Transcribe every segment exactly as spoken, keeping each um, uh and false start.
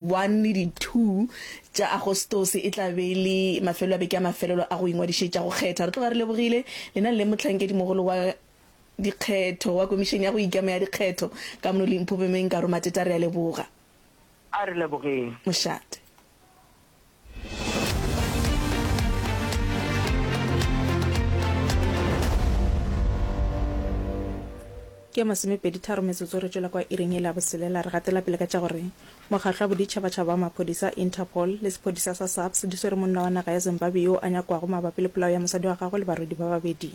one le di two tša Agostose e tla be e le mafelelo a beke a mafelelo a go ingwadišetša go kgetha. Re tloga re lebogile lena le mohlankedimogolo wa dikgetho wa Komišene ya go Ikema ya Dikgetho ka mono Limpopo Mme Nkaro Mateta, re a leboga. A re lebogeng. Mošate. Ke ya masomepedi-tharo metsotso re tšwela kwa iring yela ya boselela. Re gatela pele ka tša gore Mokgatlo wa Boditšhabatšhaba wa Maphodisa, Interpol, le sephodisa sa SAPS di swere monna wa naga ya Zimbabwe yoo a nyakwago mabapi le polao ya mosadi wa gagwe le barwedi ba babedi.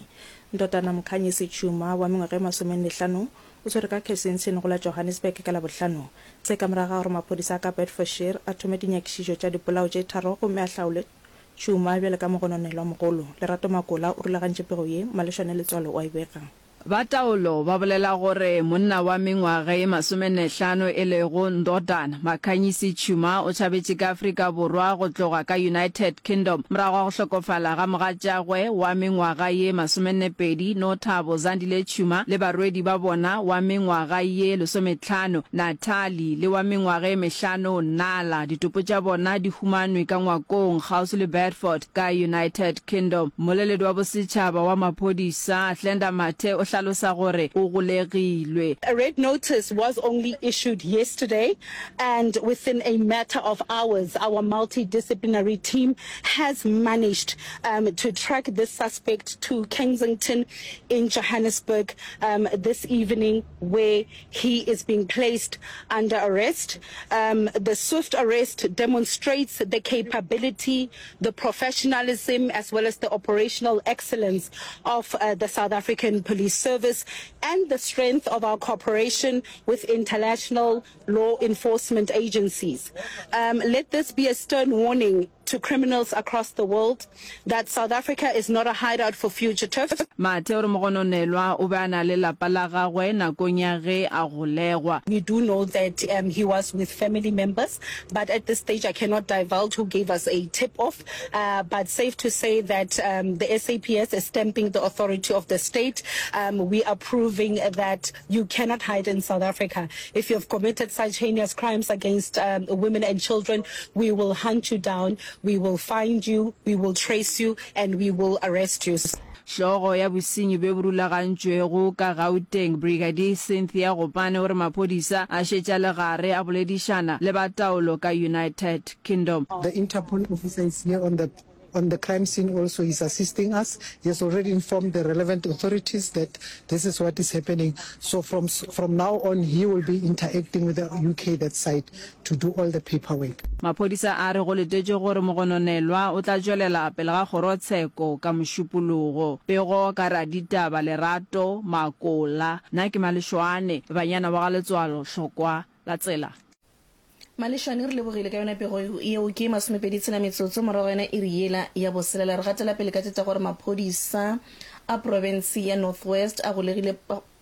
Ndodana Mkhanyisi Tshuma wa mengwaga e masomenne-hlano o swerwe ka Kensington go la Johannesburg ka Labohlano. Se ka morago ga gore maphodisa a ka Bedfordshire a thome dinyakišišo tša dipolao tše tharo gomme a hlaole Tshuma bjalo ka mogononelwamogolo. Lerato Makola o rulagantše pego ye, Malešwane Letswalo o a e bega. Ba taolo ba bolela gore monna wa mengwaga ye masomennehlano e lego Ndodana Makhanyisi Tshuma o tšhabetše ka Afrika Borwa go tloga ka United Kingdom morago ga go hlokofala ga mogatšagwe wa mengwaga ye masomennepedi Nothabo Zandile Tshuma le barwedi ba bona wa mengwaga ye lesometlhano Natalie le wa mengwaga ye mehlano Nala. Ditopo tša bona di humanwe ka ngwakong kgauswi le Bedford ka United Kingdom. Mmoleledi wa bosetšhaba wa maphodisa, Hlenda Mathe o hlalosa gore o golegilwe. A red notice was only issued yesterday and within a matter of hours our multidisciplinary team has managed um, to track this suspect to Kensington in Johannesburg um, this evening where he is being placed under arrest. Um, the swift arrest demonstrates the capability, the professionalism as well as the operational excellence of uh, the South African Police Service and the strength of our cooperation with international law enforcement agencies. Um, let this be a stern warning to criminals across the world that South Africa is not a hideout for fugitives. Mathe o re mogononelwa o be a na le lapa la gagwe nakong ya ge a golegwa. We do know that um, he was with family members, but at this stage I cannot divulge who gave us a tip-off. Uh, but safe to say that um, the S A P S is stamping the authority of the state. Um, we are proving that you cannot hide in South Africa. If you have committed such heinous crimes against um, women and children, we will hunt you down, we will find you, we will trace you, and we will arrest you. Hlogo ya bosenyi bjo bo rulagantšwego ka Gauteng, Brigadier Cynthia Gopane o re maphodisa a šetše a le gare a boledišana le ba taolo ka United Kingdom. The Interpol officer is here on the on the crime scene also, he's assisting us. He has already informed the relevant authorities that this is what is happening. So from, from now on he will be interacting with the U K that side to do all the paperwork. Maphodisa a re go letetšwe gore mogononelwa o tla tšwelela pele ga kgorotsheko ka Mošupologo. Pego ka raditaba Lerato Makola. Nna ke Malešwane, banyana wa ga Letswalo Hlokwa la tsela. Malešwane, re lebogile ka yona pego yeo. Ke masomepedi tshela metsotso morago ga yona iri yela ya boselela. Re gatela pele ka tše tša gore maphodisa a profense ya North West a golegile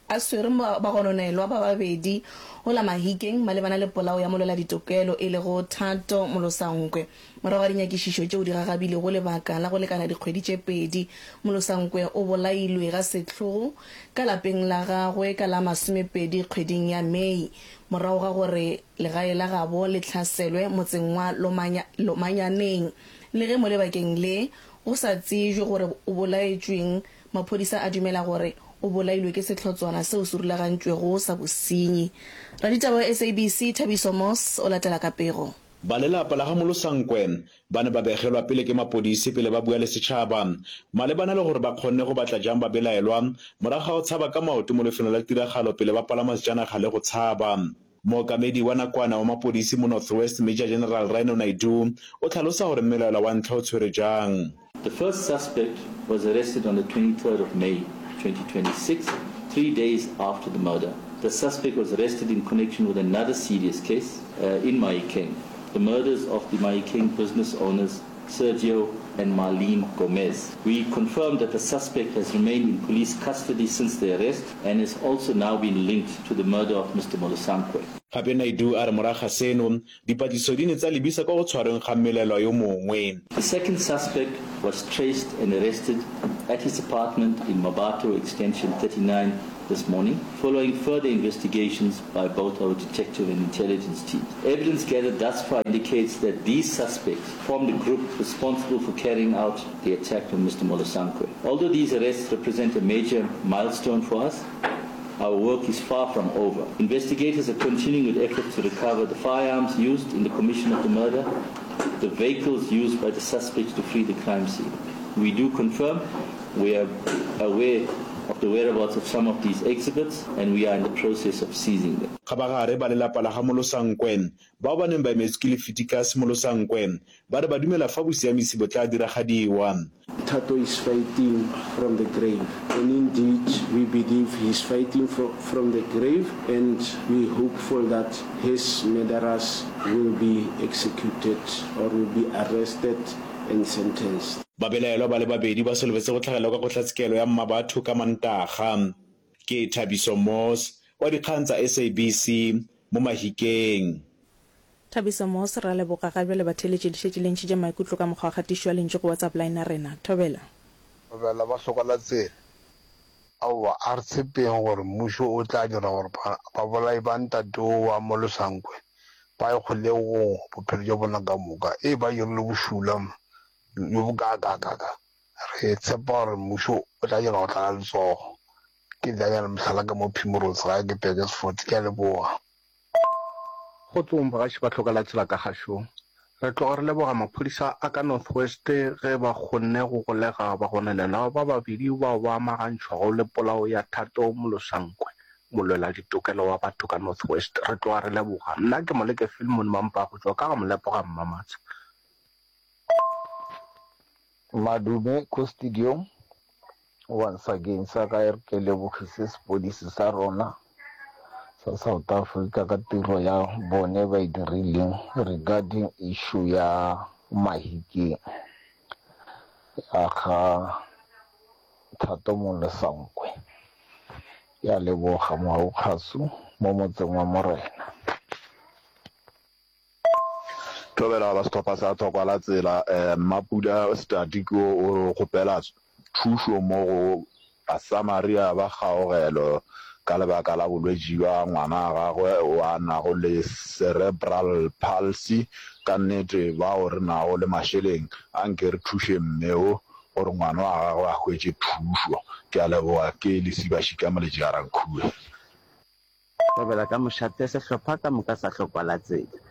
a swere bagononelwa ba babedi go la Mahikeng malebana le polao ya molweladitokelo e lego Thato Molosankwe. Morago ga dinyakišišo tšeo di gagabilego lebaka la go lekana dikgwedi tše pedi, Molosankwe o bolailwe ga sehlogo ka lapeng la gagwe ka la masomepedi kgweding ya Mei morago ga gore legae la gabo le hlaselwe motseng wa Lomanyaneng. Le ge mo lebakeng le go sa tsejwe gore o bolaetšweng, maphodisa a dumela gore o bolailwe ke sehlotswana seo se rulagantšwego sa bosenyi. Raditaba wa S A B C Thabiso Moss o latela ka pego. Ba lelapa la ga Molosankwe ba ne ba begelwa pele ke mapodisi pele ba bua le setšhaba malebana le gore ba kgonne go batla jang babelaelwa morago ga go tshaba ka maoto mo lefelong la tiragalo pele ba palama sejanaga le go tshaba. Mookamedi wa nakwana wa mapodisi mo North West, Major General Rhino Naidoo, o tlhalosa gore mmelaelwa wa ntlha o tshwerwe jang. The first suspect was arrested on the twenty-third of May twenty twenty-six, three days after the murder. The suspect was arrested in connection with another serious case uh, in Mahikeng, the murders of the Mahikeng business owners Sergio and Marlene Gomez. We confirmed that the suspect has remained in police custody since the arrest and has also now been linked to the murder of Mister Molosankwe. Gape Naidoo a re morago ga seno, dipatlisiso di ne tsa lebisa kwa go tshwarweng ga mmelelwa yo mongwe. The second suspect was traced and arrested at his apartment in Mmabatho Extension thirty-nine this morning, following further investigations by both our detective and intelligence teams. Evidence gathered thus far indicates that these suspects formed a group responsible for carrying out the attack on Mister Molosankwe. Although these arrests represent a major milestone for us, our work is far from over. Investigators are continuing with efforts to recover the firearms used in the commission of the murder, the vehicles used by the suspects to flee the crime scene. We do confirm we are aware of the whereabouts of some of these exhibits and we are in the process of seizing them. Kgabagare, ba lelapa la ga Molosankwe, bao ba neng ba emetswe ke Lefiticus Molosankwe, ba re ba dumela fa bosiamisi bo tla diragadiwa. Thato is fighting from the grave and indeed we believe he is fighting from the grave and we hopeful that his murderers will be executed or will be arrested and sentenced. Babelaelwa ba le babedi ba solofetse go tlhagelela kwa kgotlatshekelo ya Mmabatho ka Mantaga. Ke Thabiso Moss wa dikgang tsa S A B C mo Mahikeng. Thabiso Moss, Re a leboga. Ga bjale batheeletši le šetše le ntšhitše maikutlo ka mokgwa wa kgatišo ya lentšu go WhatsApp line ya rena. Thobela. Thobela ba hloka la tsela. Aowa, a re tshepeng gore mmušo o tla dira gore babolai ba ntate wo wa Molosankwe ba ye kgolegong bophelo bja bona ka moka. Ee, ba dirile bošula bjo bokaakaakaa. Re tshepa gore mmušo o tla dira go tlala letsogo. Ke Daniel Mohlala ka mo Primrose gae ke Burgersfort. Ke a leboga. Kgotsong bagaši ba hloka la tsela ka gašong. Re tloga re leboga maphodisa a ka North West ge ba kgonne go golega bagononelwa ba babedi bao ba amagantšhwago le polao ya Thato Molosankwe, molweladitokelo wa batho ka North West. Re tloga re leboga. Nna ke Moleke Philemon Mampa go tšwa ka ga Molepo ga Mmamatsha. Madume ko studio once again sa ka e re ke lebogise sepodisi sa rona sa South Africa ka tiro ya bone ba e dirileng regarding issue ya Mahikeng ya ga Thato Molosankwe. Ke a leboga Moaukgasu mo motseng wa Morena. Thobela ba sehlopha sa Thokwa la Tsela, Mmapula Setati ke o o kgopela thušo mo go Basamaria ba kgaogelo ka lebaka la bolwetši bja ngwana wa gagwe o a nago le cerebral palsy. Ka nnete bao re nago le mašeleng a nke re thuše mme o gore ngwana wa gagwe a hwetše thušo. Ke a leboga. Ke Lesiba Šika Moletši Garankhuwe. Thobela ka mošate sehlopha ka moka sa Hlokwa la Tsela.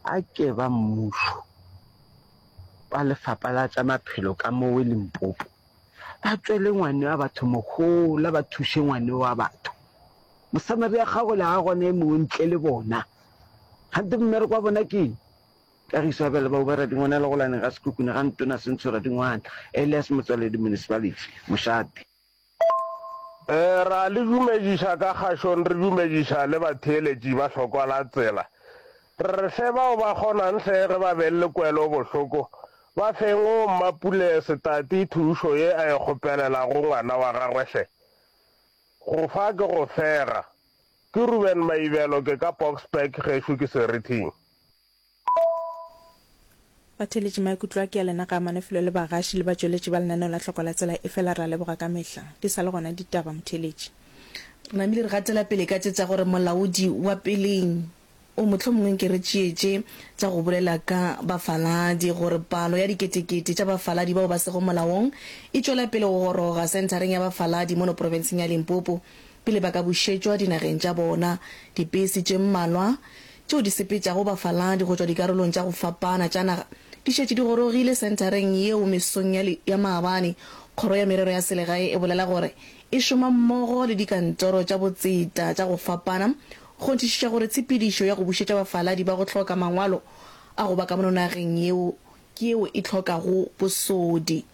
A ke ba mmušo, ba lefapha la tša maphelo ka mowe Limpopo, ba tšwele ngwane wa batho mohola, ba thuše ngwane wa batho. Mosamaria kgaogelo ga gona e mongwe ntle le bona. Kgante mmereko wa bona ke eng? Kagiso ya bjale ba Uba Radingwana Legolane ga Sekhukhune ga Ntona Sentsho Radingwana, Elias Motswaledi Municipality, Mošate. Ra le dumediša ka kgašong, re dumediša le batheeletši ba hlokwa la tsela. Re re hle bao ba kgonang hle ge ba beng le kwelo bohloko, ba feng o Mmapule Setati thušo ye a e kgopelelago ngwana wa gagwe hle. Go fa ke go fega. Ke Ruben Maibelo ke ka Boksburg gešo ke Serithing. Batheeletši maikutlo a ke a lena ga amane felo le bagaši le batšweletši ba lenaneo la Hloko la Tsela efela re a leboga ka mehla di sa le gona ditaba motheeletši. Re namile re gatela pele ka tše tša gore molaodi wa peleng o mohlomongwe nke re tšee tše tša go bolela ka bafaladi gore palo ya diketekete tša bafaladi bao ba sego molaong e tšwela pele go goroga senthareng ya bafaladi mono profenseng ya Limpopo pele ba ka bušetšwa dinageng tša bona. Dipese tše mmalwa tšeo di sepetšago bafaladi go tšwa dikarolong tša go fapana tša naga di šetše di gorogile senthareng yeo mesong ya ya maabane. Kgoro ya Merero ya Selegae e bolela gore e šoma mmogo le dikantoro tša botseta tša go fapana go kgonthišiša gore tshepedišo ya go bušetša bafaladi ba go hloka mangwalo a go ba ka mono nageng yeo ke yeo e hlokago bosodi.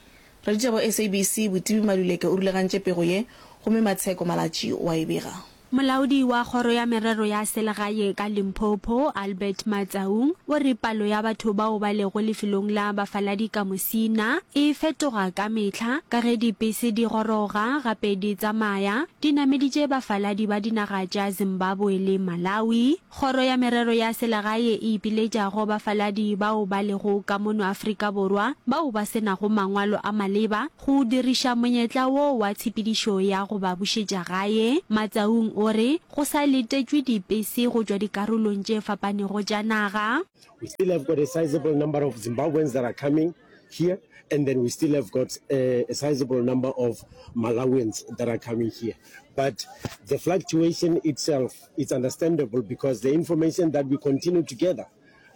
Raditaba wa S A B C Botibi Maluleke o rulagantše pego ye gomme Matsheko Malatji o a e bega. Molaodi wa Kgoro ya Merero ya Selegae ka Limpopo, Albert Matsaung, o re palo ya batho bao ba lego lefelong la bafaladi ka Musina e fetoga ka mehla ka ge dipese di goroga gape di tsamaya di nameditše bafaladi ba dinaga tša Zimbabwe le Malawi. Kgoro ya Merero ya Selegae e ipiletša go bafaladi bao ba lego ka mono Afrika Borwa bao ba se nago mangwalo a maleba go diriša monyetla wo wa tshepedišo ya go ba bušetša gae. Matsaung o re go sa letetšwe dipese go tšwa dikarolong tše fapanego tša naga. We still have got a sizable number of Zimbabweans that are coming here and then we still have got a, a sizable number of Malawians that are coming here. But the fluctuation itself is understandable because the information that we continue to gather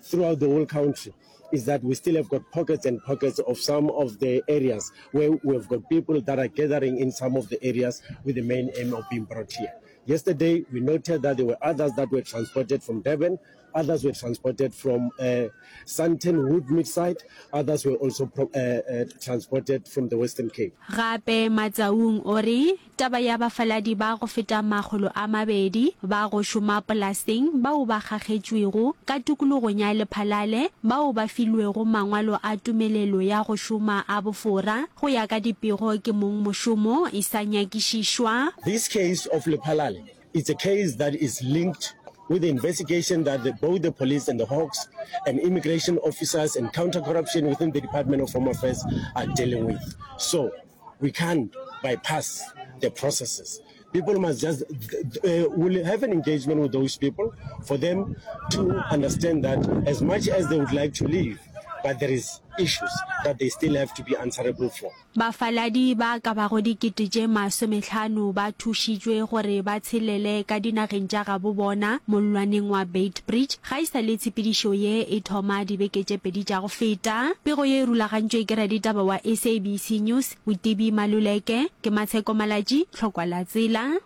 throughout the whole country is that we still have got pockets and pockets of some of the areas where we've got people that are gathering in some of the areas with the main aim of being brought here. Yesterday, we noted that there were others that were transported from Durban, others were transported from uh, Sandton Woodmead side, others were also pro- uh, uh, transported from the Western Cape. Gape Matsaung o re taba ya bafaladi ba go feta makgolo a mabedi ba go šoma polaseng bao ba kgakgetšwego ka tikologong ya Lephalale bao ba filwego mangwalo a tumelelo ya go šoma a bofora go ya ka dipego ke mongmošomo e sa nyakišišwa. This case of Lephalale, it's a case that is linked with the investigation that the, both the police and the Hawks and immigration officers and counter-corruption within the Department of Home Affairs are dealing with. So we can't bypass the processes. People must just, uh, will have an engagement with those people for them to understand that as much as they would like to leave, but there is issues that they still have to be answerable for. Bafaladi ba ka bago dikete tše masomehlano ba thušitšwe gore ba tshelele ka dinageng tša gabo bona mollwaneng wa Beitbridge ga e sa le tshepedišo ye e thoma dibeke tše pedi tša go feta. Pego ye e rulagantšwe ke raditaba wa S A B C News, Botibi Maluleke. Ke Matsheko Malatji, Tlhokwa la Tsela.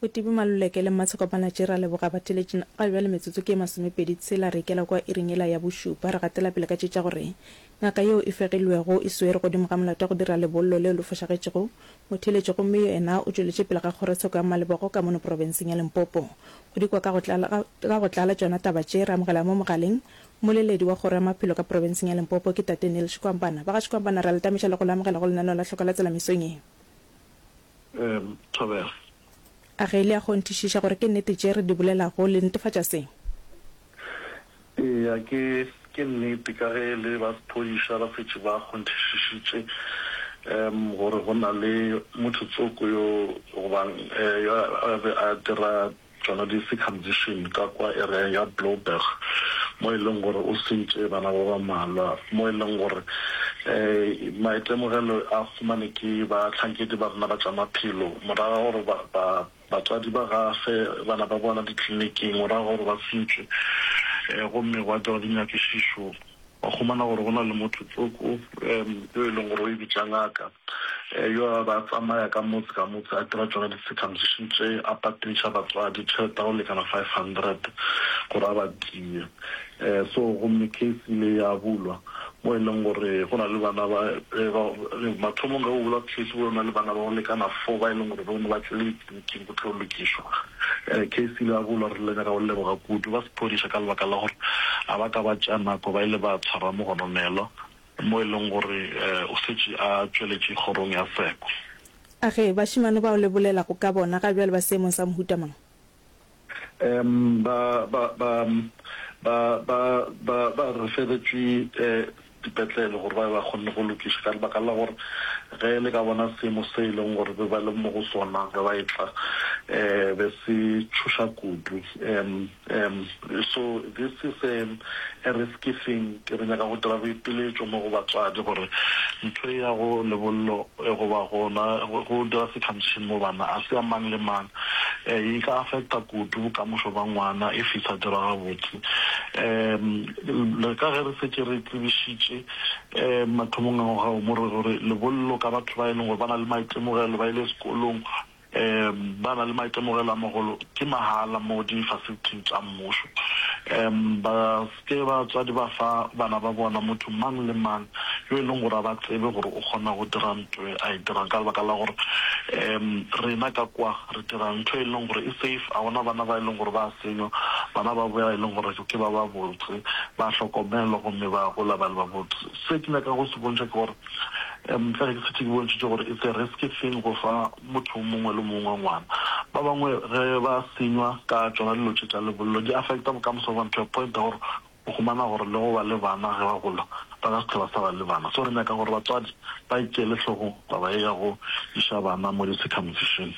Botibi Maluleke le Matsheko Malatji ra leboga batheletši ga bjale metsotso ke masomepedi tshela re ikela kwa iring yela ya bošupa re gatela pele ka tše tša gore ngaka yeo e fegilwego e swere godimo ga molato wa go dira lebollo leo le fošagetšego motheletši gomme yena o tšweletše pele ga kgorotsheko ya Malebogo ka mono profenseng ya Limpopo. Go dikwa ka go tlala ka go tlala tšona taba tše re amogela mo mogaleng moleledi wa kgoro ya maphelo ka profenseng ya Limpopo ke tate Neil Shikwambana. Ba ga Shikwambana re a le tamiša le go le amogela go lenaneo la Tlhoko la Tsela mesong ye. Um Thobela. A ge le a kgonthišiša gore ke nnete tše re di bolelago le netefatša se? Eya, ke, ke nnete, ka ge le ba sephodisa ba šetše ba kgonthišišitše um gore go na le motho tsoko yo goba yo a be a dira tšona di-circumcision ka kwa area ya Blouberg, mo e leng gore o sentše bana ba ba mmalwa, mo e leng gore um maitemogelo a humane ke bahlankedi ba rena ba tša maphelo morago ga gore ba, ba, batswadi ba gafe bana ba bona ditleliniking morago ga gore ba sentšwe, um gomme gwa dirwa dinyakišišo wa humana gore go na le motho tsoko um yo e leng gore o e bitša ngaka, um yo a ba tsamaya ka motse ka motse a dira tšona di-circumcision tše, a patediša batswadi tšhelete ya go lekana five hundred gore a ba die. Um so gomme case ile ya bulwa mo e leng gore go na le bana ba, ba mathomong ge go bulwa case go na le bana ba go lekana four ba e leng gore bone ba tlile ditleliniking go tlo lokišwa. Um case ile ya bulwa, re ile nyaka go leboga kudu ba sephodisa ka lebaka la gore a ba ka ba tšea nako ba ile ba tshwara mogononelwa mo e leng gore um o šetše a tšweletše kgorong ya seko. A ge bašemane bao le bolelago ka bona ga bjale ba seemong sa mohuta mang? Um ba ba ba ba ba ba ba referetšwe um dipetlele gore ba be ba kgonne go lokiša ka lebaka la gore ge le ka bona seemo se e leng gore be ba le mo go sona ge ba etla um be se tšhoša kudu. Um um so this is a, a risky thing. Ke re nyaka go dira boipiletšo mo go batswadi gore ntho e ya go lebollo goba gona go dira circumcision mo bana a se ya mang le mang, e ka affecta kudu bokamoso ba ngwana if e sa dirwa gabotse. Um le ka ge re šetše re tsebišitše um mathomong a ngwaga wo mo re gore lebollo ka batho ba e leng gore ba na le maitemogelo, ba ile sekolong, um ba na le maitemogelo a magolo, ke mahala mo di-facility tša mmušo. Um ba se ke batswadi ba fa bana ba bona motho mang le mang yo e leng gore a ba tsebe gore o kgona go dira nto e a e dirang ka lebaka la gore um rena ka kwa re dira ntho e leng gore e safe, a gona bana ba e leng gore ba a senywa, bana ba boya e leng gore ke ba ba botse, ba hlokomelwa gomme ba gola ba le ba botse. Se ke nyakago go se bontšha ke gore um ka ge ke šetše ke bontšhitše gore it's a risky thing go fa motho o mongwe le mongwe ngwana. Ba bangwe ge ba senywa ka tšona dilo tše tša lebollo di affecta bokamoso bja bona to a point ya gore o humana gore le go ba le bana ge ba gola ba ka se hlwe ba sa ba le bana. So re nyaka gore batswadi ba e tšeele hlogong taba ye ya go iša bana mo di-circumcision.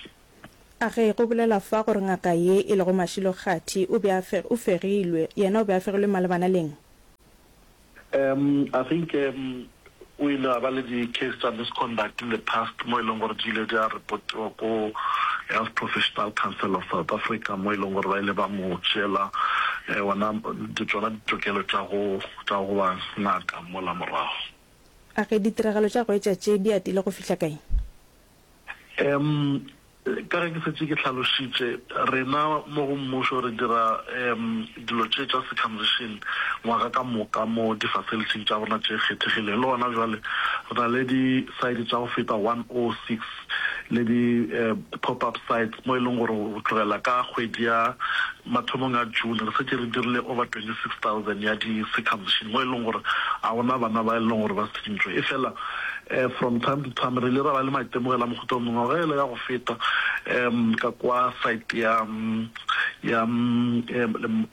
A ge go bolelwa fa gore ngaka ye e lego Mashilo Kgathi o be a o fegilwe, yena o be a fegilwe malebana le eng? Um I think um o ile a ba le di case tša misconduct in the past mo e leng gore di ile di a reportiwa ko Health Professional Council of South Africa mo e leng gore ba ile ba mo tšeela ona tšona ditokelo tša go tša go ba ngaka mola morago. A ge ditiragalo tša go etša tše di atile go fihla kae? Um Ka ge ke šetše ke hlalošitše, rena mo go mmušo re dira dilo tše tša circumcision ngwaga ka moka mo di-facility-ing tša rona tše kgethegileng. Le gona bjale re na le di-site tša go feta one oh six le di-pop-up sites mo e leng gore go tlogela ka kgwedi ya mathomong a June re šetše re dirile over twenty six thousand ya di-circumcision mo e leng gore ga gona bana ba e leng gore ba sentšwe. Efela From time to time re ile ra ba le maitemogelo a mohuta o mongwe. Ngwaga yela ya go feta um ka kwa site ya ya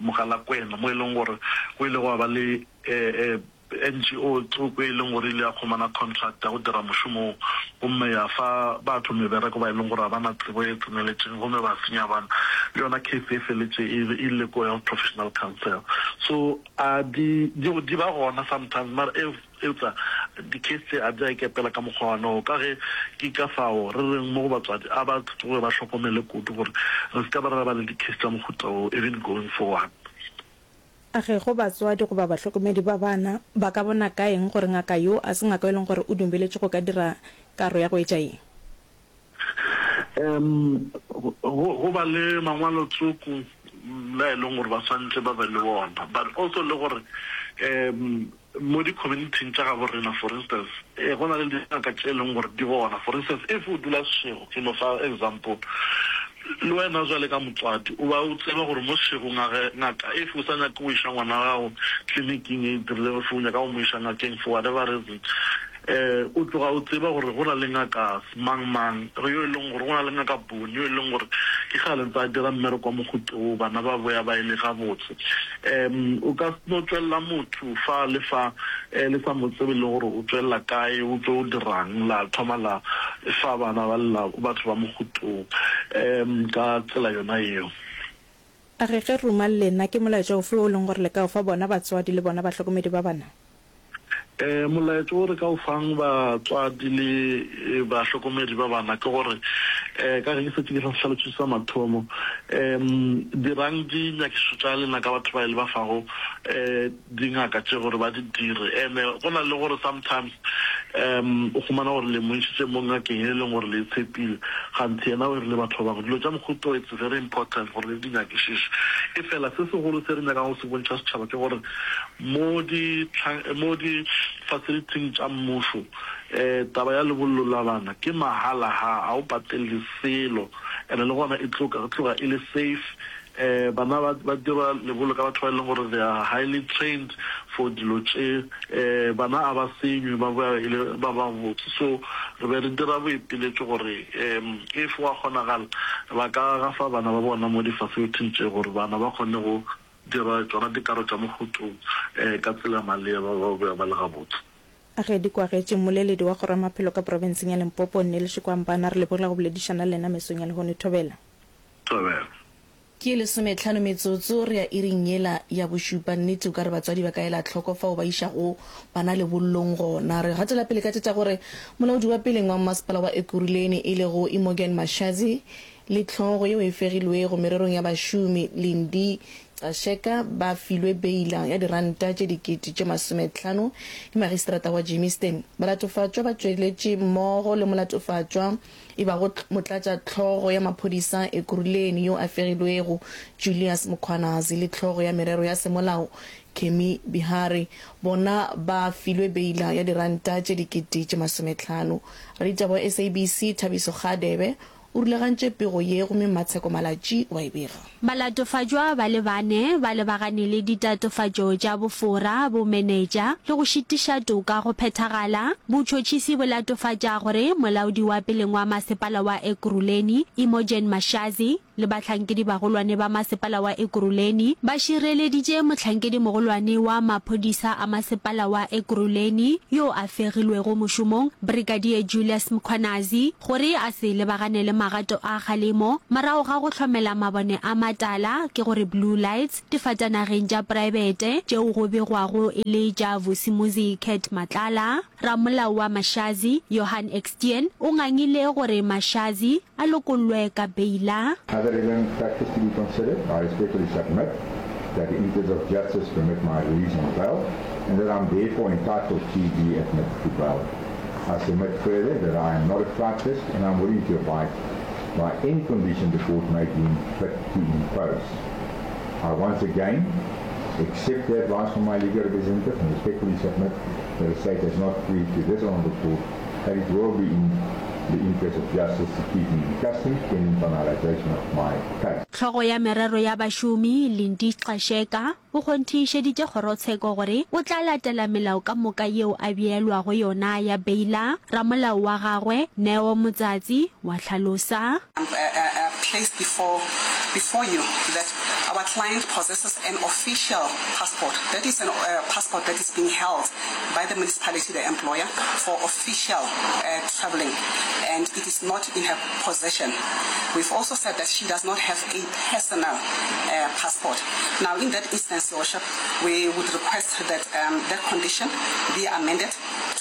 Mogalakwena mo e leng gore go ile gwa ba le N G O tsoko e leng gore e ile ya khumana contract ya go dira mošomo wo gomme ya fa batho mebereko ba e leng gore ga ba na tsebo e tseneletšeng gomme ba senya bana. Le yona case e feletše e ile ko Health Professional Council. So a di di ba gona sometimes mara Eupša di-case tše a di a ikepela ka mokgwa wa noo, ka ge ke ka fao re reng mo go batswadi a ba tsoge ba hlokomele kudu gore re se ka ba ra ba le di-case tša mohuta wo even going forward. A ge go batswadi goba bahlokomedi ba bana, ba ka bona ka eng gore ngaka yo a se ngaka yo e leng gore o dumeletšwe go ka dira karo ya go etša ye? Um go, go ba le mangwalo tsoko la e leng gore ba swanetše ba be le wona, but also le gore um Mo di-community-ing tša gabo rena, for instance, ee, go na le dingaka tše e leng gore di gona. For instance, if o dula Seshego, ke no fa example, le wena bjale ka motswadi o ba o tseba gore mo Seshego ngaka, ngaka if o sa nyake go iša ngwana wa gago tleliniking e dirilego, if o nyaka go mo iša ngakeng for whatever reason, um o tloga o tseba gore go na le ngaka mang mang yo e leng gore go na le ngaka Boni yo e leng gore ke kgale ntse a dira mmereko wa mohuta wo, bana ba boya ba e le gabotse. Um o ka no tšwelela motho fa le fa um le sa mo tsebe le gore o tšwelela kae, o tšo dirang, la thoma la fa bana ba lela batho ba mohuta wo um ka tsela yona yeo. A re ge ruma lena, ke molaetša ofe wo e leng gore le ka o fa bona batswadi le bona bahlokomedi ba bana? Molaetša wo re ka o fang batswadi le bahlokomedi ba bana ke gore, ka ge ke šetše ke hlalošitše sa mathomo, dirang dinyakišišo tša lena ka batho ba e le ba fago dingaka tše gore ba di dire. Ene go na le gore sometimes o humana gore le mo išitše mo ngakeng e leng gore le e tshepile, kganthe yena o irile batho ba bangwe. Dilo tša mohuta wo it's very important gore le di nyakišiše. Efela se segolo se re nyakang go se bontšha setšhaba ke gore, Mo di mo di facility-ing tša mmušo, taba ya lebollo la bana ke mahala ha ga o patelle selo and le gona e tloga tloga e le safe. Bana ba ba dira lebollo ka batho ba e leng gore they are highly trained for dilo tše. Bana a ba senywe ba boya e le ba ba botse. So re be re dira boipiletšo gore if gwa kgonagala ba ka gafa bana ba bona mo di facility-ing tše gore bana ba kgone go Dira tšona dikaro tša mohuto ka tsela ya maleba, ba boya ba le gabotse. A Ge di kwagetše, mmoleledi wa Kgoro ya Maphelo ka profenseng ya Limpopo, Neil Shikwambana, re lebogile go boledišana le lena mesong ya lehono. Thobela. Thobela. Ke lesometlhano metsotso re ya iring yela ya bošupa. Nnete o ka re batswadi ba ka ela hloko fao ba išago bana lebollong gona. Re gatela pele ka tše tša gore molaodi wa peleng wa mmasepala wa Ekurhuleni e lego Imogen Mashazi le hlogo yeo e fegilwego mererong ya bašomi Lindi Gxasheka ba filwe beila ya diranta tše dikete tše masometlhano ke magistrata wa Germiston. Balatofatšwa ba tšweletše mmogo le molatofatšwa e bago motlatšahlogo ya maphodisa Ekurhuleni yo a fegilwego Julius Mkhwanazi le hlogo ya merero ya semolao Kemi Bihari bona ba filwe beila ya diranta tše dikete tše masometlhano. Raditaba wa S A B C Thabiso Kgadebe o rulagantše pego ye gomme Mmatsheko Malatji wa e bega. Balatofatšwa ba le bane ba lebagane le ditatofatšo tša bofora, bomenetša le go šitiša toka go phethagala. Botšhotšhisi bo latofatša gore molaodi wa peleng wa masepala wa Ekurhuleni, Imogen Mashazi, le bahlankedi-bagolwane ba masepala wa Ekurhuleni ba šireleditše mohlankedi-mogolwane wa maphodisa a masepala wa Ekurhuleni yo a fegilwego mošomong, Brigadier Julius Mkhwanazi, gore a se lebagane le magato a kgalemo morago ga go hlomela mabone a matala, ke gore blue lights, difatanageng tša praebete tšeo go begwago e le tša Vusimuzi Cat Matlala. Ramolao wa Mashazi, Johan Eksteen, o ngangile gore Mashazi a lokollwe ka beila. Other relevant factors to be considered, I respectfully submit that the interests of justice permit my release on bail and that I'm therefore entitled to be admitted to bail. I submit further that I am not a flight risk and I'm willing to abide by any condition the court may deem fit to impose. I once again accept the advice from my legal representative and respectfully submit that the state has not proved to this honourable court that it will be in the interest of justice to keep me in custody pending finalisation of my case. Hlogo ya merero ya bašomi, Lindi Gxasheka, o kgonthišeditše kgorotsheko gore o tla latela melao ka moka yeo a beelwago yona ya beila. Ramolao wa gagwe, Neo Motsatsi, wa hlalosa. Placed before before you that our client possesses an official passport, that is an passport that is being held by the municipality, the employer, for official travelling, and it is not in her possession. We've also said that she does not have a personal passport. Now, in that instance, Your Worship, we would request that um, that condition be amended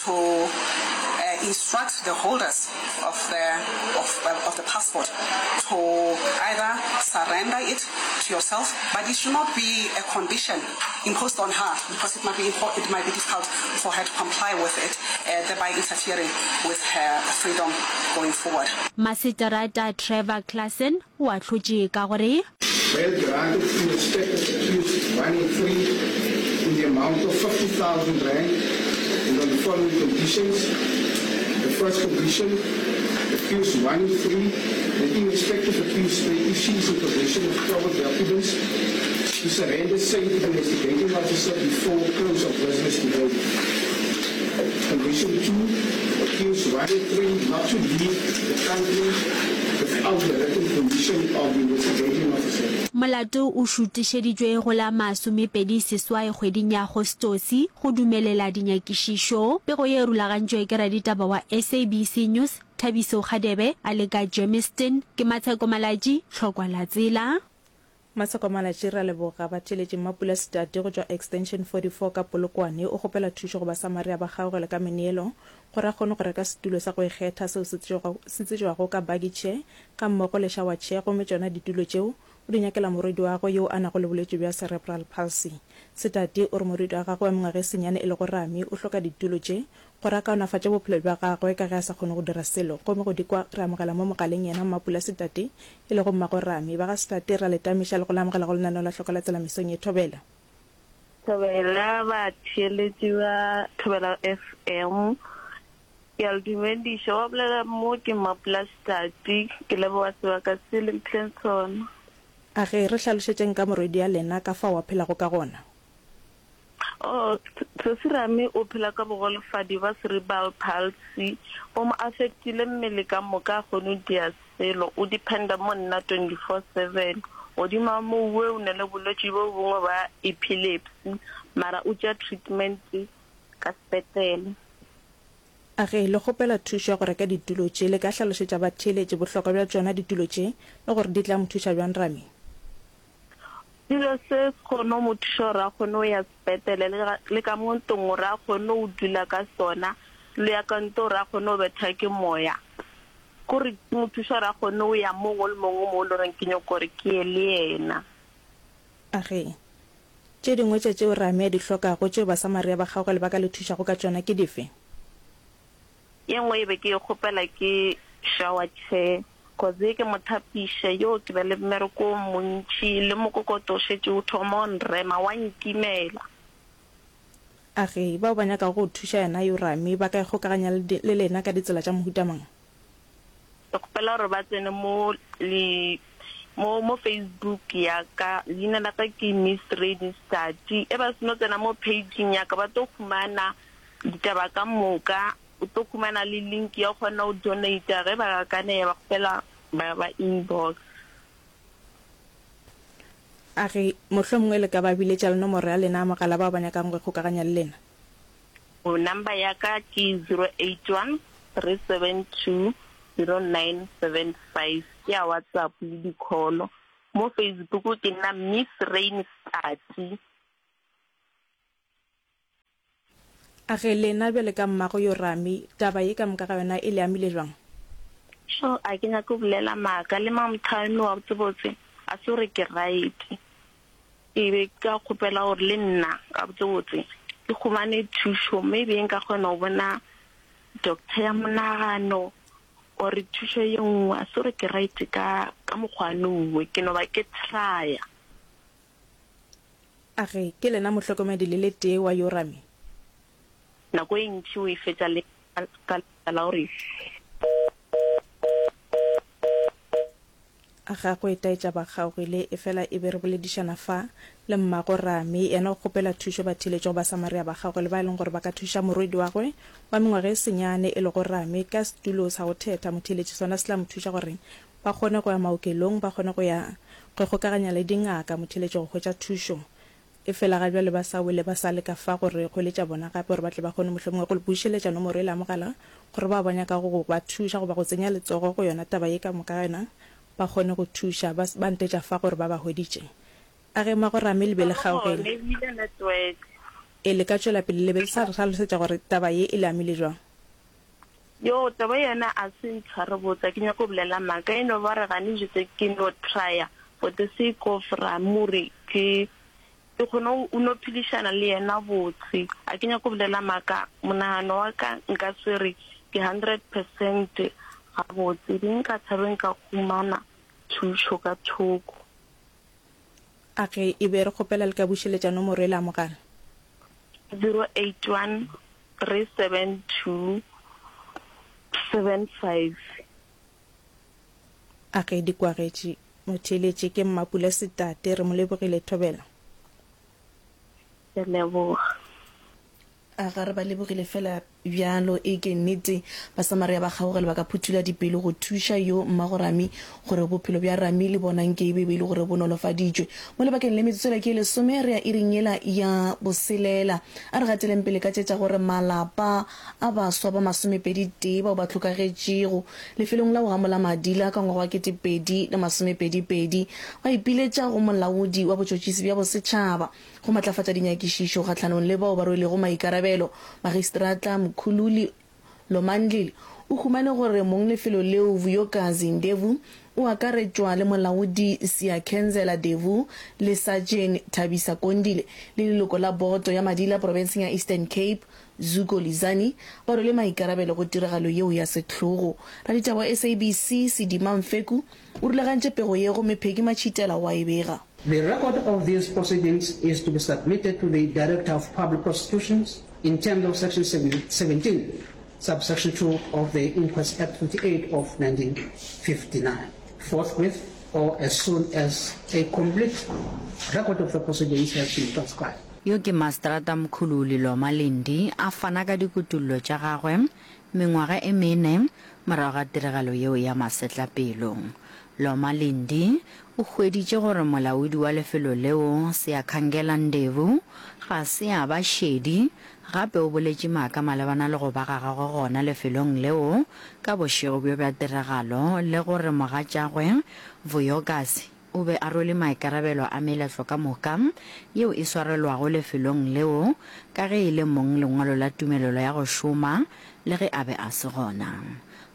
to uh, instruct the holders of the, of, uh, of the passport to either surrender it to yourself, but it should not be a condition imposed on her because it might be, it might be difficult for her to comply with it, uh, thereby interfering with her freedom going forward. Maseterata Trevor Claassen o ahlotše ka gore. Bail granted in respect of accused one and three in the amount of fifty thousand rand and on the following conditions, The first condition, accused one and three, that in respect of accused three, if she is in possession of proper documents, to surrender same to the investigating officer before close of business today. Condition two, accused one and three not to leave the country without the written permission of the investigating officer. Molato o šutišeditšwe go la masomepedi seswai kgweding ya Agostose go dumelela dinyakišišo. Pego ye e rulagantšwe ke raditaba wa S A B C News, Thabiso Kgadebe a le ka Germiston. Ke Matsheko Malatji, Tlhokwa la Tsela. Matsheko Malatji, Re a leboga. Batheeletši Mmapula Setate go tšwa Extension forty four ka Polokwane o kgopela thušo go Basamaria ba kgaogelo ka meneelo gore a kgone go reka setulo sa go ikgetha seo se tsejwago ka buggy chair gammogo le shower chair gomme tšona ditulo tšeo o di nyakela morwedi wa gagwe yo a nago le bolwetši bja cerebral palsy. Setate o re morwedi wa gagwe wa mengwaga e senyane e lego Rami o hloka ditulo tše gore a kaonafatše bophelo bja gagwe ka ge a sa kgone go dira selo. Gomme go di kwa re amogela mo mogaleng yena Mmapula Setate e lego mmago Rami. Ba ga Setate re a le tamiša le go le amogela go lenaneo la Hloka la Tsela mesong ye. Thobela. Thobela batheeletši ba Thobela F M. Ke a le dumediša. Wa bolela mo ke Mmapula Setate. Ke leboga sebaka se le mphileng sona. A ge re hlalošetšeng ka morwedi ya lena ka fao a phelago ka gona. Oh, Sesi Rami o phela ka bogolofadi ba cerebral palsy, bo mo affectile mmele ka moka a kgone go dia selo, o dependa mo nna twenty four seven. Godimo ga moo we o na le bolwetši bo bongwe ba epilepsy mara o tšea treatment ka sepetlele. A Ge le kgopela thušo ya go reka ditulo tše, le ka hlalošetša batheeletši bohlokwa bja tšona ditulo tše le gore di tla mo thuša bjang Rami? Setulo se se kgone go mo thuša gore a kgone go ya sepetlele le le ka mo ntlong gore a kgone go dula ka sona le ya ka ntle gore a kgone go betha ke moya. Kore se mo thuša gore a kgone go ya mongwe le mongwe mo e le goreng ke nyoko gore ke ye le yena. Age, tše dingwe tša tšeo Rami a di hlokago tšeo Basamaria ba kgaugelo ba ka le thušago ka tšona ke dife? Ye nngwe e be ke e kgopela ke shower chair cause ye ke mo thapiša yo ke ba le mmereko o montši le mokokoto o šetše o thoma o nrema wa nkimela. Age, bao ba nyakago go thuša yena yo Rami ba ka ikgokaganya le lena ka ditsela tša mohuta mang? Ke kgopela gore ba tsene mo le mo mo Facebook ya ka, leina la ka ke Miss Rainy Stati. E ba seno tsena mo page-ing ya ka ba tlo humana ditaba ka moka, o tlo humana le link ya go kgona go donate ge ba ka ne ba kgopela ba ba inbox. A re, Mohlomongwe le ka ba biletša le nomoro ya lena ya mogala bao ba nyakago go ikgokaganya le lena. Number ya ka ke zero eight one three seven two zero nine seven five, ke ya WhatsApp le di call. Mo Facebook ke nna Miss Rain Stati. A re, Lena bjale ka mmago yo Rami, taba ye ka moka ga yona e le amile bjang? Sho, a ke nyake go bolela maaka, le Mamthane wa botsebotse a se gore ke right. Ke be ke ka kgopela gore le nna gabotsebotse ke humane thušo, maybe nka kgona go bona doctor ya monagano or thušo ye nngwe, a se gore ke right ka ka mokgwa nongwe, ke no ba ke trya. A re, Ke lena mohlokomedi le le tee wa Yorami? Nako e ntši o e fetša le ka lebaka la gore. A gagwe taetša ba kgaogile, efela e be re boledišana fa le mmago Rami, yena o kgopela thušo batheeletši go Basamaria ba gagwe le ba e leng gore ba ka thuša morwedi wa gwe wa mengwaga e senyane e lego Rami ka setulo sa go thetha motheeletši sona se tla mo thuša gore ba kgone go ya maokelong ba kgone go ya go ikgokaganya le dingaka motheeletši go hwetša thušo Efela ga bjale ba sa wele ba sa leka fa go re hweletša bona gape gore ba tle ba kgone mohlomongwe go le bušeletša nomoro yela ya mogala gore bao ba nyakago go ba thuša goba go tsenya letsogo go yona taba ye ka moka ga yona ba kgone go thuša. Ba, ba ntetša fa gore ba ba hweditše. A ge Magorame le be le kgaogile. E, le ka tšwela pele le be le sa re hlalosetša gore taba ye e le amile bjang. Yoo, taba yona a se ntshware botse, a ke nyake go bolela maaka, e no ba re gane jetse ke no trya for the sake of Ramore ke Ke kgone go no phedišana le yena botse. A ke nyake go bolela maaka, monagano wa ka nka se re ke hundred percent gabotse. Be nka thabe nka humana thušo ka thoko. A ge e be re kgopela le ka bušeletša nomoro yela ya mogala. Zero eight one three seven two seven five. A ge di kwagetše. Motheeletši ke Mmapula Setate, re mo lebogile Thobela. Ke a leboga. A ga re ba lebogile feela bjalo? E ke nnete, Basamaria ba kgaugelo ba ka phuthula dipelo go thuša yo mmago Rami gore bophelo bja Rami le bona nke e be e le gore bo nolofaditšwe. Mo lebakeng le metsotso yela ke ye lesome re ya iring yela ya boselela. A re gateleng pele ka tše tša gore malapa a baswa ba masomepedi tee bao ba hlokagetšego lefelong la go gamola madila ka ngwaga wa kete pedi le masomepedi pedi ba ipiletša go molaodi wa botšhotšhisi bja bosetšhaba go matlafatša dinyakišišo kgahlanong le bao ba rwelego maikarabelo. Magistrata Mkhululi Lomandlile o humane gore monglefelo leo Vuyokazi Ndevu o akaretšwa le molaodi Siyakhenzela Devu le Sajene Thabisa Kondile le leloko la boto ya madila profenseng ya Eastern Cape Zuko Lizani ba rwele maikarabelo go tiragalo yeo ya sehlogo. Raditaba wa S A B C Sidima Mfeku o rulagantše pego ye gomme Peggy Matšhitela o a e bega. The record of these proceedings is to be submitted to the Director of Public Prosecutions in terms of section seventeen, subsection two of the Inquest Act fifty-eight of nineteen fifty-nine, forthwith or as soon as a complete record of the proceedings has been transcribed. Yo ke Mastrata Mkhululi Loma Lindi a fana ka dikutullo tša gagwe mengwaga e mene morago ga tiragalo yeo ya masetlapelo. Loma Lindi o hweditše gore molaodi wa lefelo leo Siyakhangela Ndevu ga se a ba šedi gape o boletše maaka malebana le go ba ga gagwe gona lefelong leo ka bošego bjo bja tiragalo le gore mogatšagwe Vuyokazi o be a rwele maikarabelo a meletlo ka moka yeo e swarelwago lefelong leo ka ge e le mong lengwalo la tumelelo ya go šoma le ge a be a se gona.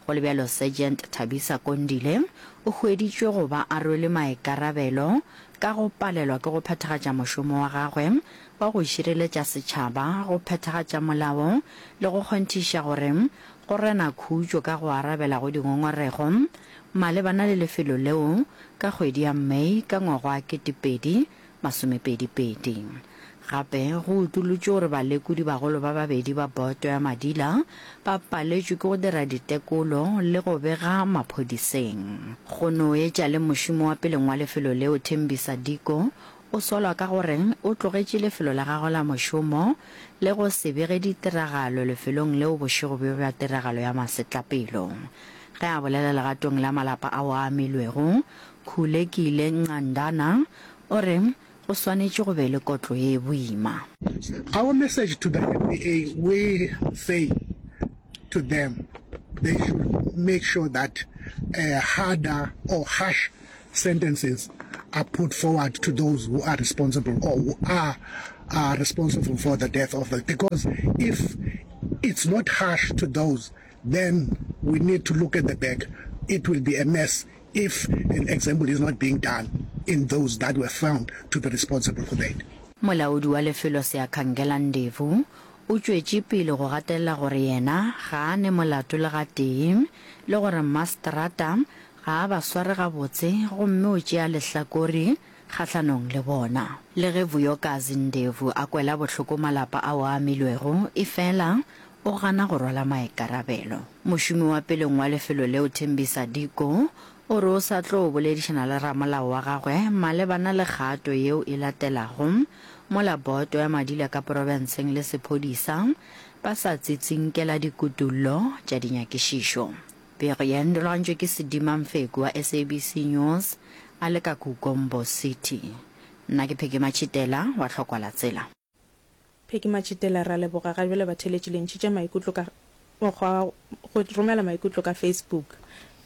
Go le bjalo Sergeant Thabisa Kondile o hweditšwe go ba a rwele maikarabelo ka go palelwa ke go phethagatša mošomo wa gagwe wa go šireletša setšhaba, go phethagatša molao le go kgonthiša gore go rena khutšo ka go arabela go dingongorego malebana le lefelo leo ka kgwedi ya May ka ngwaga wa ketepedi masomepedi pedi. Gape go utolotšwe gore balekodibagolo ba babedi ba boto ya madila ba paletšwe ke go dira ditekolo le go bega maphodiseng. Go no etša le mošomi wa peleng wa lefelo leo Thembisa Diko o solwa ka gore o tlogetše lefelo la gagwe la mošomo le go se bege ditiragalo lefelong leo bošego bjo bja tiragalo ya masetlapelo. Ge a bolela legatong la malapa ao a amilwego, Khulekile Ncandana o re go swanetše go be le kotlo ye boima. Our message to the N P A, we say to them they should make sure that harder or harsh sentences are put forward to those who are responsible or who are, are responsible for the death of the, because if it's not harsh to those, then we need to look at the back. It will be a mess if an example is not being done in those that were found to be responsible for that. Molaodi wa lefelo Siyakhangela Ndevu o tšwetše pele go gatelela gore yena ga a ne molato le gatee le gore maseterata ga a ba sware gabotse gomme o tšea lehlakore kgahlanong le bona. Le ge Vuyokazi Ndevu a kwela bohloko malapa ao a amilwego, efela o gana go rwala maikarabelo. Mošomi wa peleng wa lefelo leo Thembisa Diko o re o sa tlo boledišana le ramolao wa gagwe malebana le kgato yeo e latelago mola boto ya madila ka porofenseng le sephodisa ba sa tsitsinkela dikutullo tša dinyakišišo. Pego ye e rulagantšwe ke Sedima Mfeku wa S A B C News a le ka Kugombo City. Nna ke Peggy Matšhitela wa Tlhokwa la Tsela. Peggy Matšhitela, Re a leboga. Ga bjale batheeletši le ntšhitše maikutlo ka mokgwa wa go romela maikutlo ka Facebook.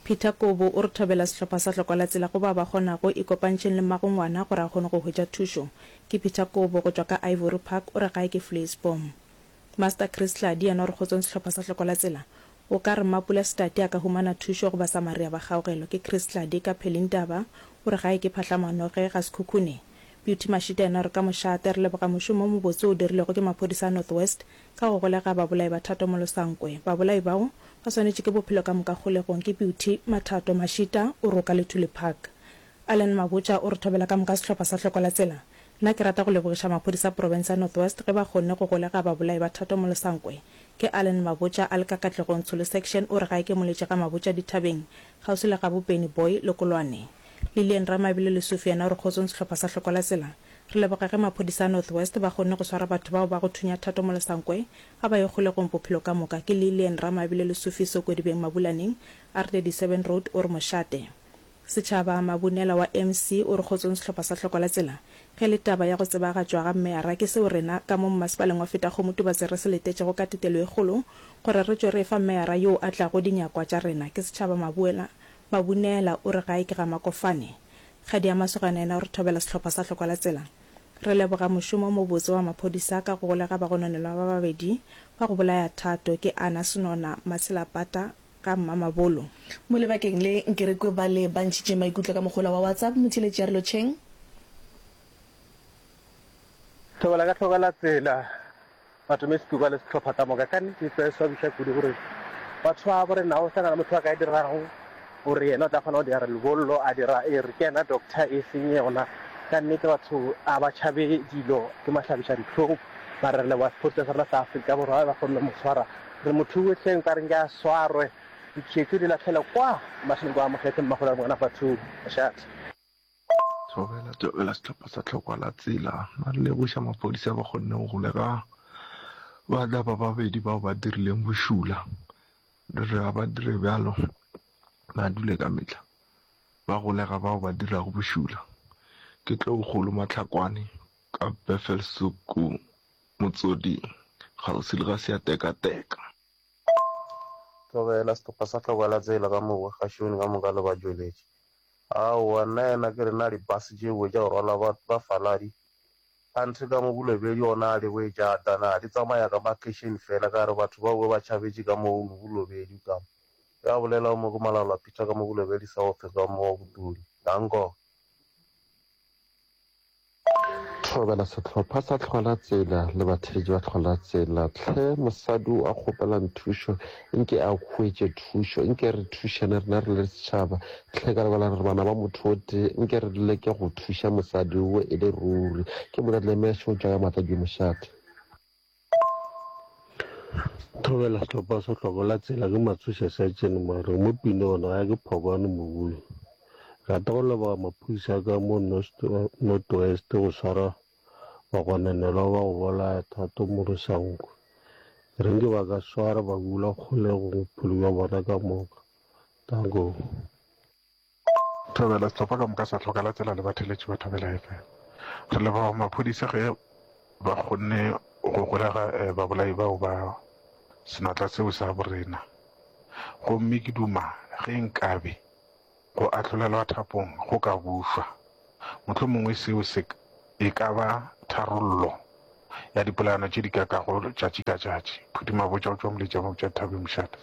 Peter Kobo o re thobela sehlopha sa Tlhokwa la Tsela go bao ba kgonago, ikopantšheng le mmago ngwana gore a kgone go hwetša thušo. Ke Peter Kobo go tšwa ka Ivory Park, o re gae ke Vleisboom. Master Chris Tladi yena o re kgotsong sehlopha sa Tlhokwa la Tsela. O ka re Mmapula Setati a ka humana thušo go Basamaria ba kgaogelo. Ke Chris Tladi ka Phelindaba, o re gae ke Phahlamanoge ga Sekhukhune. Beauty Mashita yena o re ka mošate, re leboga mošomo o mobotse o dirilwego ke maphodisa a North West ka go golega babolai ba Thato Molosankwe. Babolai bao ba swanetše ke bophelo ka moka kgolegong. Ke Beauty Mathato Mashita o roka Lethule Park. Allen Mabotja o re thobela ka moka sehlopha sa Hloko la Tsela. Nna ke rata go lebogiša maphodisa a profense ya North West ge ba kgonne go golega babolai ba Thato Molosankwe. Ke Allen Mabotja a le ka Katlegong Tsholo Section o re gae ke moletše ga Mabotja dithabeng kgauswi le gabo Penny Boy Lekolwane. Lilian Ramabelo Lesufi yena o re kgotsong sehlopha sa Hloko la Tsela. Re leboga ge maphodisa a North West ba kgonne go swara batho bao ba go thunya Thato Molosankwe a ba ye kgolegong bophelo ka moka. Ke Lilian Ramabelo Lesufi Sokodibeng Mabulaneng R thirty seven Road o re mošate. Setšhaba Mabunela wa M C o re kgotsong sehlopha sa Hloko la Tsela. Ge le taba ya go tsebagatšwa ga meyara ke seo rena ka mo mmasepaleng wa Fetakgomo Tubatse re se letetšego ka tetelo e kgolo gore re tšwe re efa meyara yoo a tlago dinyakwa tša rena. Ke Setšhaba Mabuela Mabunela o re gae ke ga Makofane. Kgadi ya Masogana yena o re thobela sehlopha sa Hloko la Tsela. Re leboga mošomo o mobotse wa maphodisa ka go golega bagononelwa ba babedi ba go bolaya Thato ke Anna Senona Matshelapata ga Mmamabolo. Mo lebakeng le, nke re kwe bale ba ntšhitše maikutlo ka mogola wa WhatsApp. Motheeletši a re lotšheng. Thobela ka hloka la tsela, Matome Setuka le sehlopha ka moka. Ka nnete e tlo e swabiša kudu gore batho ba bo rena go sa na le motho a ka e dirago gore yena o tla kgona go dira lebollo, a dira e re ke yena doctor e seng yona. Ka nnete batho a ba tšhabe dilo, ke mahlabiša dihlong. Mara re leboga sephodisa sa rena sa Afrika Borwa ba kgonne mo swara. Re mo thuwe hleng ka re nke a swarwe, ditšhetšo di lahlelwe kwa mašemong kwa Mokgethe Mmagolwane Ngwana Batho Mošate. Thobela, thobela sehlopha sa Tlhokwa la Tsela. Ba re lebogiša maphodisa ba kgonne go golega batla ba babedi bao ba dirileng bošula. Re re ga ba dire bjalo, ba dule ka mehla ba golega bao ba dirago bošula. Ke tlo kgolo Mahlakwane ka Bethelshoek Motsoding, kgauswi le ga Seatekateka. Thobela sehlopha sa Tlhokwa la Tsela ka moka, kgašong ka moka le batšweletši. Aowa, nna yena ke re na dibase tšeo tša go rwala ba bafaladi anthe ka mo Bolobedu gona a di boetša ata na di tsamaya ka makheišene fela ka re batho bao ba tšhabetše ka mo Bolobedu ka mo. Ya bolela mo ke Malala Peter ka mo Bolobedu South ka mo Botodi. Danko. Thobela sehlopha sa Tlhola Tsela le batheetši ba Tlhola Tsela. Hle mosadi o a kgopelang thušo nke a hwetše thušo. Nke re thušane rena re le setšhaba. Hle ka lebaka la gore re bana ba motho o tee nke re leke go thuša mosadi wo e le ruri. Ke Molatlehla Mesho o tšwa ka Matladimo Mošate. Thobela sehlopha sa Tlhokola Tsela ke Matsoša Sergeant Mare mo Pinona ga ke Phokwane Mobung. Rata go leboga maphodisa ka mo North West go swara bagononelwa ba go bolaya Thato Morosankwe. Re nke ba ka swara ba bula kgolegong bophelo bja bona ka moka. Danko. Thobela sehlopha ka moka sa Tlhokala Tsela le batheeletši ba Thobela F M. Re leboga maphodisa ge ba kgonne go golega babolai bao ba senatla seo sa borena. Gomme ke duma ge nkabe go ahlolelwa thapong go ka bušwa. Mohlomongwe seo se e ka ba tharollo ya dipolayano tše di kakago tšatši ka tšatši. Phuti Mabotja o tšwa Moletša Mabotja Thabeng Mošate.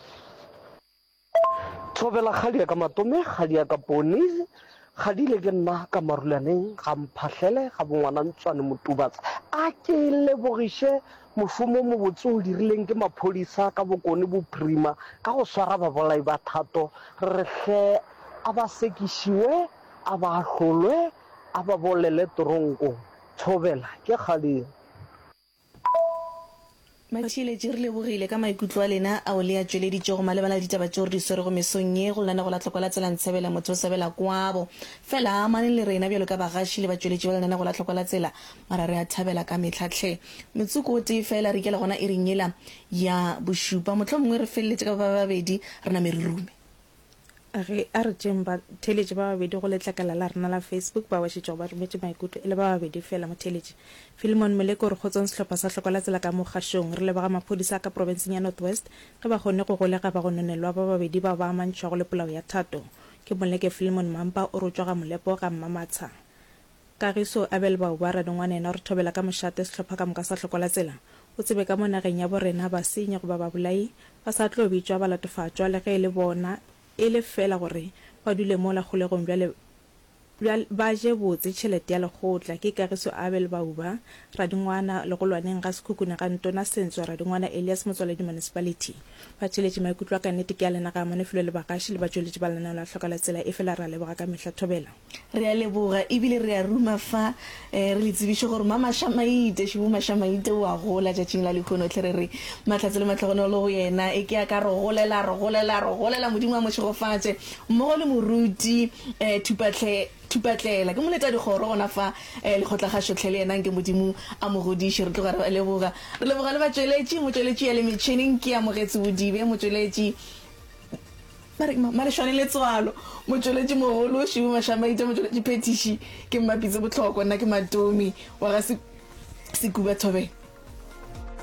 Thobela kgadi ya ka Matome, kgadi ya ka Poni, kgadile ke nna ka Marulaneng, ga Mphahlele, ga bongwana Ntswane Motubatse. A ke lebogiše mošomo o mobotse o dirileng ke maphodisa ka Bokone Bophirima ka go swara babolai ba Thato. Re re hle a ba sekišiwe, a ba ahlolwe, a ba bolele toronkong. Thobela ke kgadi. Batheeletši, re lebogile ka maikutlo a lena ao le a tšweleditšego malebana le ditaba tšeo re di swerego mesong ye go lenanego la Tlhoko la Tsela Ntshebela Motho o Sebela Kwabo. Fela amaneng le rena bjalo ka bagaši le batšweletši ba lenanego la Tlhoko la Tsela, mara re a thabela ka mehla hle. Motsoko o tee fela re ikela gona iring yela ya bošupa. Mohlomongwe re feleletše ka ba babedi re name re rume. Ge a re tšeeng batheeletši ba babedi go letlakala la rena la Facebook bao ba šetšego ba rometše maikutlo e le ba babedi feela. Motheeletši Philemon Moleko o re kgotsong sehlopha sa Hloko la Tsela ka mo kgašong. Re leboga maphodisa a ka profenseng ya North West ge ba kgonne go golega bagononelwa ba babedi bao ba amantšhwago le polao ya Thato. Ke Moleke Philemon Mampa o re o tšwa ga Molepo ga Mmamatsha. Kagiso Abel Bauba radingwana yena o re thobela ka mošate sehlopha ka moka sa Hloko la Tsela. O tsebe ka mo nageng ya bo rena basenyi goba babolai ba sa tlo bitšwa balatofatšwa le ge e le bona e le feela gore ba dule mola kgolegong bjale bjale ba je botse tšhelete ya lekgotla. Ke Kagiso Abel Bauba, Radingwana, Legolwaneng ga Sekhukhune ga Ntona Sentswa, Radingwana Elias Motswaledi Municipality. Batheeletši maikutlo a ka nnete ke a lena ga amane felo le bagaši le batšweletši ba lenaneo la Hloka la Tsela efela re a leboga ka mehla Thobela. Re a leboga ebile re a ruma fa re le tsebiše gore Mamašamaite, Šibu Mašamaite o a gola tšatšing la lehono hle re re mahlatse le mahlogonolo go yena e ke a ka re golela, re golela, re golela Modimo a mo šegofatše mmogo le moruti Thupahle, Thupatlela ke moletadikgoro gona fa lekgotlakgašo hle le yena nke Modimo a mo godiše re tloga re ba leboga. Re leboga le batšweletši, motšweletši ya le metšhineng ke Amogetsi Bodibe, motšweletši Ba re Malešwane Letswalo, motšweletši mogolo, Šibu Mašamaite, motšweletši phethiši ke Mmapitse Bohlokwa, nna ke Matomi wa ga Sekuba Thobela.